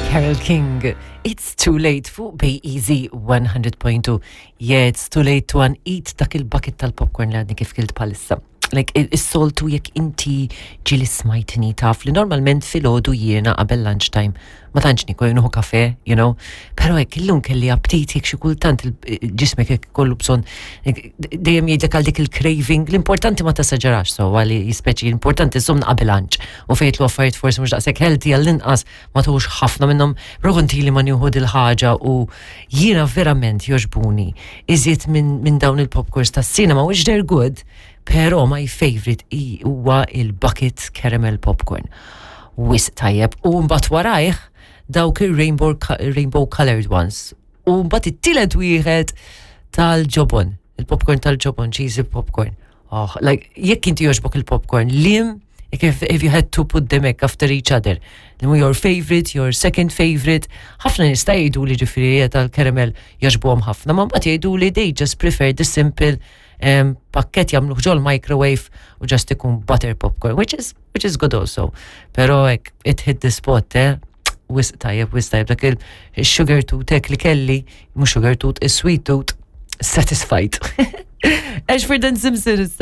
Carole King, It's Too Late fuq Bay Easy 100.2. Yeah, it's too late to uneat dak il-bucket tal-popcorn li għadni kif kilt palissa. Like, is-soltu jekk inti ġili smajtni taf li normalment filgħodu jiena qabel lunchtime ma tantx nikol nieħu kafe, you know. Però hekk illum kelli aptit jekk xi kultant ġismek jekk kollu bżonn dejjem jgħidlek għal dik il-craving, l-importanti ma tasaġerax so għali jispeċi l-importanti żomm qabel lunch u fejt lu affarijiet forsi mhux daqshekk healthy għall-inqas ma tuħux ħafna minnhom, però kont ili ma nieħu dil-ħaġa u jiena verament jogħġbuni iżjed minn min dawn il-popcorns tas-cinema which they're good, però my favorite huwa il-bucket caramel popcorn. Wisq tajjeb u mbagħad warajh dawk ir-rainbow rainbow colored ones. U mbagħad it-tielet wieħed tal-ġobon, il-popcorn tal-ġobon, cheesy popcorn. Oh, like, jekk inti jogħġbok il-popcorn, lim, if, if you had to put them hekk after each other, your favorite, your second favorite, ħafna nista' jgħidu li ġifieri tal-caramel jogħġbuhom ħafna, ma mbagħad jgħidu li they just prefer the simple um, pakket jagħmluh ġol microwave u just ikun butter popcorn, which is, which is good also. Pero hekk, it hit the spot, eh? Wisq tajjeb, wisq tajjeb, dak il-sugar tooth hekk li kelli, mhux sugar tooth, is-sweet tooth, satisfied. Ashford and Simpson issa.